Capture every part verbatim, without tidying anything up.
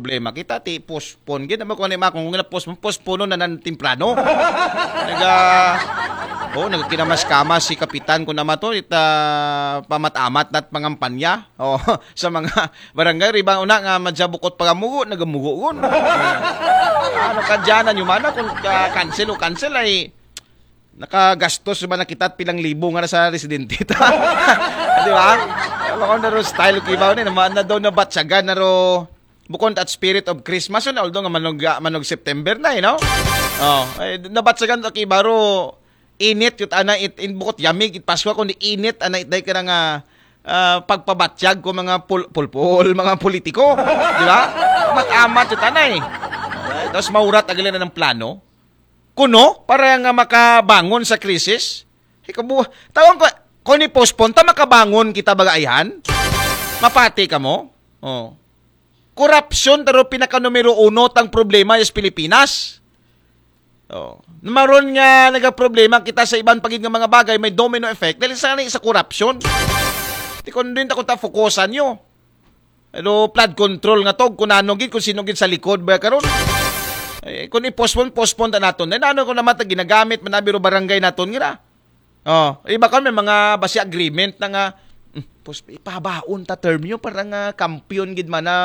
problema kita ti postpone gid naman kung ano yung mga kung postpone postpone na nan temprano. Naga oh, nagkinamas-kamas si kapitan ko naman to ita pamat-amat nat pangampanya oh, sa mga barangay riba una nga madya bukot pagamugo nagamugo gun. Ano ka dyan na yung mana kung uh, cancel o cancel ay nakagastos ba na kita pilang libo nga sa residente ta. Di ba? Alam ko na ro style kibaw ni naman na daw nabatsagan na ro bukod at Spirit of Christmas yun, although nga manog, manog September na eh, no? Oh, ay, nabatsagan to kibaro init yut ana it in bukot yamig it Pasko kundi init ana it day ka nga uh, pagpabatyag ko mga pul pulpul, mga politiko, di ba? Amat-amat yut ana eh. Tapos maurat agalin na ng plano. Kuno, para nga makabangon sa krisis. Ikabu, tawang ko, kung i-postpone ta, makabangon kita bagaihan? Mapati ka mo? Oh. Korupsyon taro pinaka numero uno tang problema sa Pilipinas. Oh. Maron nga nagaproblema kita sa iban pagid nga mga bagay may domino effect dahil sa sa korupsyon. Ti kung din ta kung ta fokusan nyo. Pero flood control nga tog kung ano gid kung sino gid sa likod ba karon. Eh, kung i-postpone, postpone ta naton. Then ano ko naman ta ginagamit man na biro barangay naton ngira. Oh, iba kami mga basi agreement na nga mm, pos ipabaon ta term nyo para nga kampiyon gid man na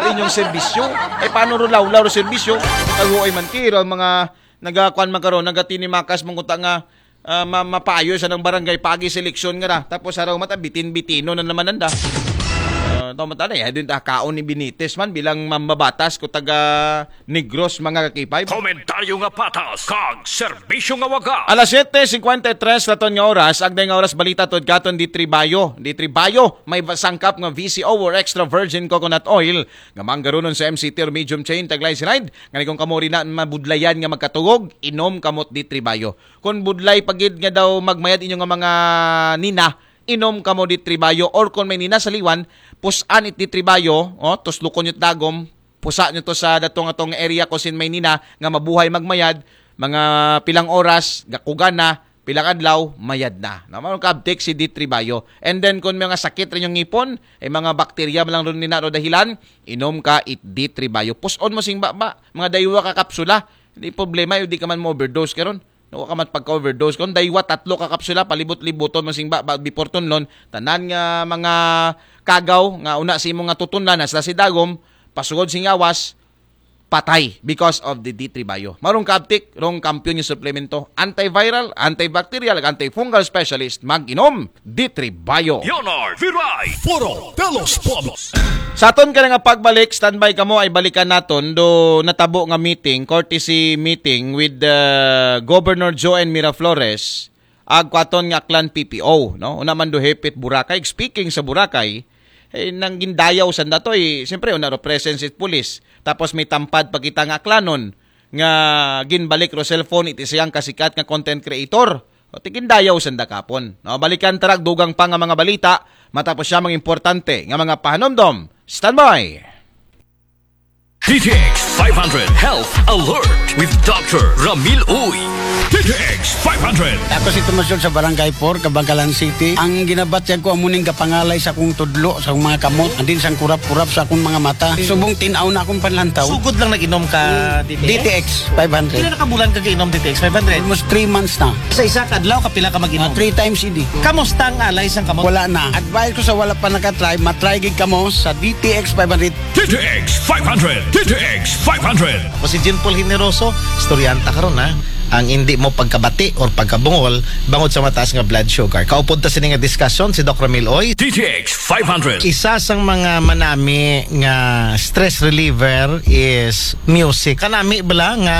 inyong serbisyo. Eh paano ro lawlaw ro serbisyo? Taguoy man kiro ang mga nagakuan man karon, nagatinimakas man kuta nga ah, ma- mapayo sa ng barangay pagi seleksyon nga ra. Tapos araw mata bitin-bitino na naman nanda. Uh, tama tala ya din ta kaon ni Benitez man bilang mambabatas ko taga Negros mga kakipay. Komentaryo nga patas kag serbisyo nga waga. Alas siyete singkwenta y tres laton nga oras, agday nga oras balita tod katon di Tribayo. Di Tribayo, may sangkap nga V C O or extra virgin coconut oil nga manggarunon sa M C T or medium chain tag glyceride. Ngani kung kamo rin na mabudlayan nga magkatugog, inom kamot di Tribayo. Kon budlay pa gid nga daw magmayad inyo nga mga nina, inom kamo di Tribayo or kon may nina sa liwan, pusan it di Tribayo, oh, tuslukon nyo dagom, pusa nyo to sa datong atong area ko sin may nina nga mabuhay magmayad, mga pilang oras, gakugan na, pilang adlaw, mayad na. Na mao kabtik si di Tribayo. And then kon mga sakit rin yung ngipon, ay mga bakterya man lang ron nina ro dahilan, inom ka it di Tribayo. Puson mo sing baba, mga daywa ka kapsula. Hindi problema, yung di ka man mo overdose karon. Nawa ka man pagka-overdose. Kung daywa, tatlo ka kapsula, palibot-libuton mo sing ba, ba, before tunlon, tanan nga mga kagaw nga una sa imo nga tutunlan, hasta si dagom, pasugod sing awas, patay because of the D three Bio. Marong kaabtik, rong kampiyon yung suplemento. Antiviral, antibacterial, antifungal specialist, mag-inom, D three Bio. Leonard Viray, Foro de los Pueblos. Sa aton ka nga pagbalik, standby kamo ay balikan naton do natabo nga meeting, courtesy meeting with the Governor Joan Miraflores, ag kwaton nga Aklan P P O, no? Una man do hepit Boracay. Speaking sa Boracay, eh, nang gindayaw sanda to, eh, siyempre, una ro presence it police. Tapos may tampad pa kita nga Aklanon, nga ginbalik ro cellphone iti siyang kasikat nga content creator. O ti gindayaw sanda kapon. No, balikan tarag dugang pa nga mga balita, matapos siya mga importante nga mga pahanomdom. Standby! D T X five hundred Health Alert with Doctor Ramil Uy. D T X five hundred. Ako si Tomas Yun sa Barangay four, Kabangkalan City. Ang ginabatyag ko amuning gapangalay sa akong tudlo, sa akong mga kamot, andin sang kurap-kurap sa akong mga mata. Subong tinaw na akong panlantaw. Sugod lang nag-inom ka D T X? D T X five hundred. Pila na ka bulan ka giinom D T X five hundred? Almost three months na. Sa isa ka adlaw, kapila ka mag-inom? Ah, three times a day. Kamusta ang alay sang kamot? Wala na. Advice ko sa wala pa nakatry, matry gid kamo sa D T X five hundred. D T X five hundred. D T X five hundred. Ako si Jean Paul Generoso, istoryanta karon ha. Ang hindi mo pagkabati or pagkabungol bangod sa mataas nga blood sugar. Kaupod ta sini nga diskusyon si Doc Ramil Oy. D T X five hundred. Isa sang mga manami nga stress reliever is music. Kanami bala nga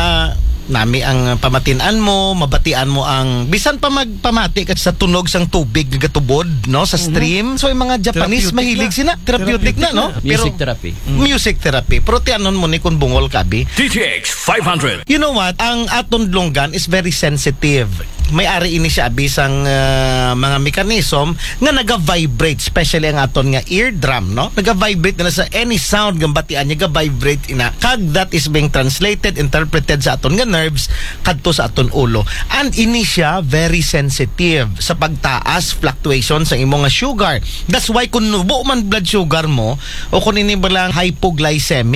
nami ang pamatin-an mo, mabatian mo ang bisan pa magpamati ka sa tunog sang tubig nga gatubod, no, sa stream. So yung mga Japanese Therapeutic mahilig na. Sina, therapeutic na, no? Therapeutic na. Pero Music therapy. Music therapy. Pero ti anon mo ni kung bungol ka, abi? D T X five hundred. You know what? Ang aton dlunggan is very sensitive. May ari ini siya, abi, sang, ah, mga mechanism nga naga-vibrate, especially ang aton nga eardrum, no? Naga-vibrate na sa any sound nga batian niya, ga-vibrate ina. Kag that is being translated, interpreted sa aton nga nerves kadto sa aton ulo. And ini siya very sensitive sa pagtaas, fluctuation sa imo nga sugar. That's why kung nubo man blood sugar mo o kung ini ba lang hypoglycemic,